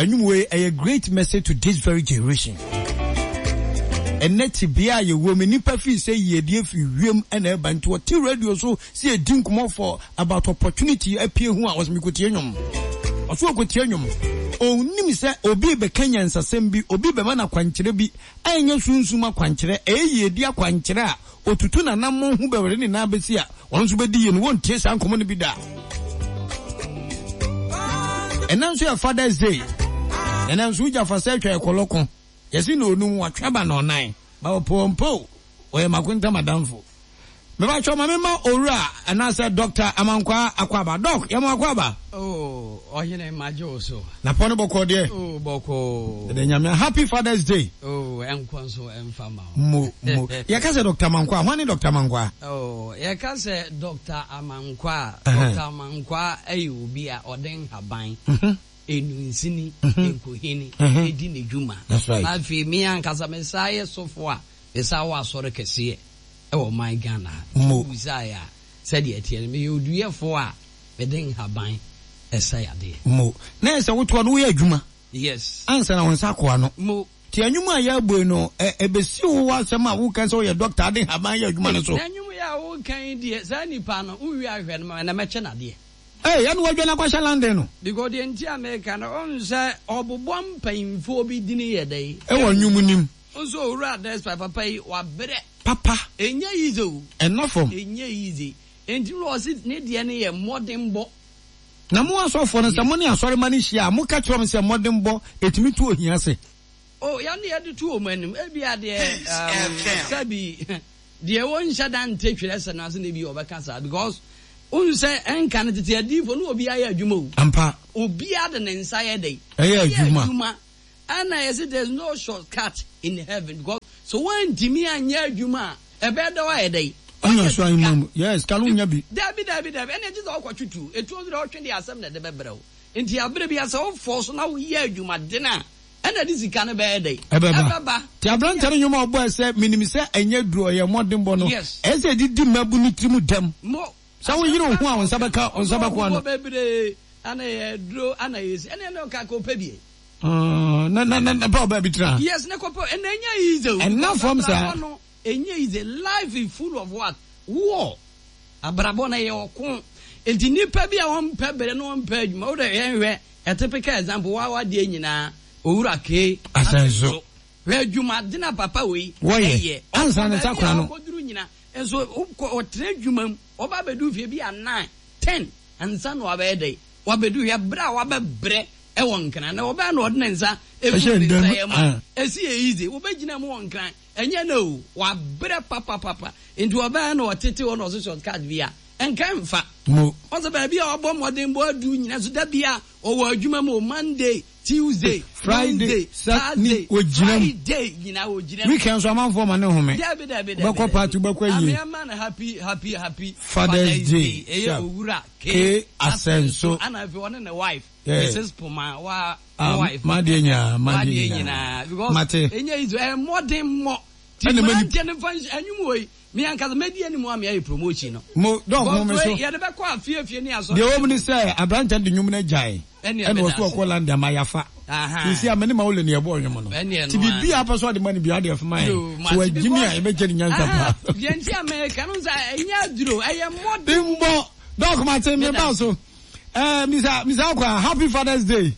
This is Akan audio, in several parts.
Ɛnwom wei ɛyɛ great message to this very generation. Ɛnɛ tebea a yɛwɔ mu nnipa fii sɛ yiedie firi wiem ɛna ɛba nti wɔte radio so sɛ yɛdi nkɔmmɔ for about opportunity apue ho a ɔsɛ mekɔtie nnwom. Ɔso ɔkɔtie nnwom. Ɔnnim sɛ obi rebɛka nyansasɛm bi, obi rebɛma no akwankyerɛ bi a ɛnyɛ sunsum akwankyerɛ, ɛyɛ yiedie akwankyerɛ a Otutu n'anammɔn hu bɛwɛre ne nan besi a ɔno nso bedi yie no, wontie saa nkɔmmɔ no bi da. Ɛnɛ nso yɛ Father's Day. Ɛnɛ nso wogya fa sɛ atwa ɛkɔlɔko. Yɛsi na onum watwe aba na ɔnan. Ba ɔpɔ mpo ɔyɛ makontam adamfo. Mebakyɛ ma mema owura anaasɛ Dr. Amankwaa Akwaaba. Doc, yɛma Akwaaba. Oh, ɔhene magye wo so. Na pɔ no bɔkɔɔ deɛ. Oh, bɔkɔɔ. Ɛdɛ nyame happy Father's Day. Oh, ɛnkɔ nso ɛmfa ma wo. Mo, mo. Yɛka sɛ Dr. Amankwaa, hwan ne Dr. Amankwaa? Oh, yɛka sɛ Dr. Amankwaa, Dr. Amankwaa ɛyɛ obi a ɔde nhaban, enunsini, nkohini, edi ne dwuma. That's right. Na afei me ankasa me saa yɛ sɔfo a, me saa wɔ asɔre kɛseɛ ɛwɔ ɔman Ghana ha. Mo. Wobisaeɛ a, sɛdeɛ ɛteɛ no, meyɛ oduyɛfoɔ a mede nhaban ɛsa yadeɛ. Mo. Na ɛsɛ wotoa no woyɛ adwuma. Yes. Ansa na wo nsa akɔ ano. Mo. Nti ɛnwom a yɛrebɔ yi no, ɛ, ɛbɛsi wo asɛm a woka sɛ woyɛ dɔkta ade nhaban yɛ adwuma no so. Na nnwom yi a woka yi deɛ, saa nipa no, wowie a hwɛ no ma na mɛkyɛ no adeɛ. Ei, ɛna wadwane akɔhyɛ London no. Because deɛ nti a meka no, wohu sɛ ɔbobɔ mpanyimfoɔ bi dini yɛ dɛn? Ɛwɔ nnwom no mu. Wohu sɛ Owura Despite papa yi, wabrɛ. Papa. Ɛnyɛ easy o. Ɛnna fam. Ɛnyɛ easy. Enti na ɔse ne deɛ no yɛ mmɔdenbɔ. Na mo asɔfoɔ no, sɛ mo ne asɔremma no hyia a, moka kyerɛ wɔn sɛ mmɔdenbɔ, ɛtumi tu ohia ase. Oh, yɛn de yɛde to wɔn anim. Ebia deɛ, um, sɛbi, deɛ wɔnhyɛ da nte twerɛsɛm no ase na ebia wɔbɛka saa because wohu sɛ ɛnka no tete adiyifoɔ no obiara yɛ adwuma o. Ampa. Obiara de ne nsa yɛ dɛn? Ɛyɛ adwuma. Ɛna yɛse there is no short cut in heaven because sɛ woantumi anyɛ adwuma a ɛbɛyɛ dɛ woayɛ dɛn? Woanya so ahemman mu. Yes, ka no wonya bi. Dabi dabi dabi ɛna gye sɛ wokɔtwe tuo. Etuo nso deɛ wotwe deɛ asɛm na ɛde bɛbrɛ wo. Nti aberɛ biara sɛ wo force na woyɛ adwumaden a ɛna ɛde sika no bɛyɛ dɛn? Ɛbɛba. Ɛbɛba. Nti aberanteɛ no nnwom a ɔbɔɛ sɛ menim sɛ ɛnyɛ duro ɛyɛ mmɔdenbɔ no Yes. ɛyɛ sɛ ɛde di mmabunu tirim dɛm. Mo. Sɛ woyere wo ho a wo nsa bɛka wo nsa bɛko ano. Ɔbɔ bebree ana yɛ duro ana yɛ si ɛna ɛna ɔka kɔ pɛ bi. Na na na pɛ ɔbaa bi tena. Yes ne kɔ pɛ ɛna ɛnyɛ easy o. Ɛna fam saa. Abrabɔ no ɛnyɛ easy, life is full of what? War. Abrabɔ no ɛyɛ ɔko. Nti nipa bi a ɔmpɛ bere na ɔmpɛ adwuma wo dɛ yɛn hwɛ a typical example wa wa deɛ nyinaa Owura K. Asɛnso. Hwɛ adwuma dena papa wei ɛyɛ. Ansa ne nsa kora no. Ɔkɔduru nyina nso ɔtena adwuma mu ɔba abɛdu fie bi a 9, 10 ansa na wabɛyɛ dɛn? Wabedu hwɛ bere a wabɛbrɛ wɔ Nkran na ɔbɛyɛ na ɔde ne nsa egu ne nsa yam a, esi yɛ easy. Wobɛgyina mu wɔ Nkran, ɛnyɛ nnɛ o, wabrɛ papapapa. Nti ɔbɛyɛ na ɔtete hɔ na ɔso short cut bi a, nka ɛmfa. Ɔsɛ baabi a wabɔ mmɔden bɔ adu nyina so da bi a ɔwɔ adwuma mu o, Monday, Tuesday, Wednesday, Thursday, Friday nyinaa ɔgyina mu. Weekend nso amanfoɔ ma ne home. Dabi dabi dabi. Wobɛkɔ party, wobɛkɔ ayie. Ame ama no happy happy happy Father's Day. Ɛyɛ Owura K Asɛnso. Ana afei ɔne ne wife Yeah. Mrs Poma wa Ah, wife. m'adeɛ nyinaa, m'adeɛ W'adeɛ nyinaa. nyinaa because Mate. ɛnyɛ easy ɛyɛ mmɔden mmɔ. Ti Ɛna mani- mmeranteɛ no mfa nhyɛ ɛnwom wɔ yi me ankasa mɛdi anim a meayɛ promotion no. Mo dɔk mo me Because so. wei yɛde bɛkɔ afie afie ne asɔre. Deɛ ɛwɔ mu ne sɛ aberanteɛ no de nnwom no agyae Ɛnneɛ ɛna meda ɔso ase. ɔkɔ London ma yafa. Aha. Sisi a me ne Maule ne yɛbɔɔ nnwom no. Ɛnneɛ Nti no ara. biribi a apɛ sɛ ɔde ma no biara ɔde ɛfoma yɛn. Yo, So mate wagyimi a because yɛbɛgye no nyansa aha paa. deɛ nti a meka no sɛ ɛnyɛ aduro ɛyɛ mmɔden. Mbɔ dɔk mate me Meda ba ase. so. Eh, Mr. Mr. Akwa, happy Father's Day.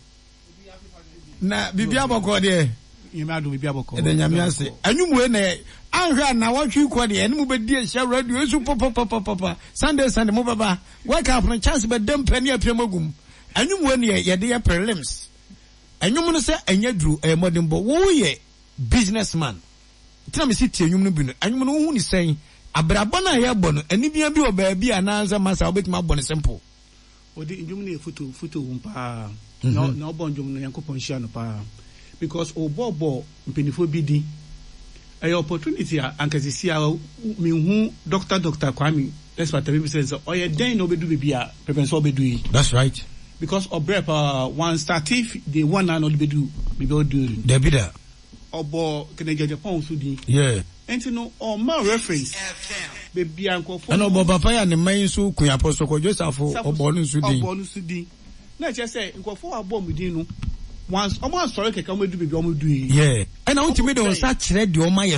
Na biribi abɔkɔ deɛ. Nyame adom biribi abɔkɔ. Ɛda Nyame ase. Anwum wei na anhwɛ a na wɔtwe kɔ deɛ ɛne mo bɛdi ahyia radio nso papapapapa. Sunday Sunday mo bɛba. Wake up no chance bɛda mpɛ ne apia mu agum. Anwum wei na yɛde yɛ prelims. Anwum no sɛ ɛnyɛ duro ɛyɛ mmɔdenbɔ. Woyɛ business man. Nti na mesi tie nnwom no bi no. Nnwom no wohu no sɛn? Abrabɔ no a yɛbɔ no, anibia bi wɔ baabi anaasɛ masa wobɛtumi abɔ no simple? Ɔde ndwom no yɛ foto foto wom paa na na ɔbɔ ndwom no Nyankopɔn nhyira no paa because ɔbɔ bɔ mpanyinfoɔ bi din ɛyɛ opportunity a anka sisi a menhu Doctor Doctor Kwame Despite mi bisa sɛ ɔyɛ dɛn na ɔbɛdu baabi a pɛpɛn sɛ ɔbɛdu yi. That's right. Because ɔbrɛ paa wan starte day one na ɔde bɛdu baabi a ɔdu yi. Dabi da. Ɔbɔɔ Kennedy Agyapong nso din. Yeah. Nti no ɔma reference baabi a nkurɔfoɔ. Ɛna ɔbɔ papa yi a ne mma yi nso kun Apostle Kwadwo Safo ɔbɔɔ no nso din. Ɔbɔɔ no nso din. Na ɛkyerɛ sɛ nkurɔfoɔ a wɔabɔ wɔn din no. Wɔn ansɔre kɛkɛ wɔn adu baabi a wɔn adu yi. Yeah. Ɛna wontumi de wo nsa kyerɛ deɛ ɔma yɛ.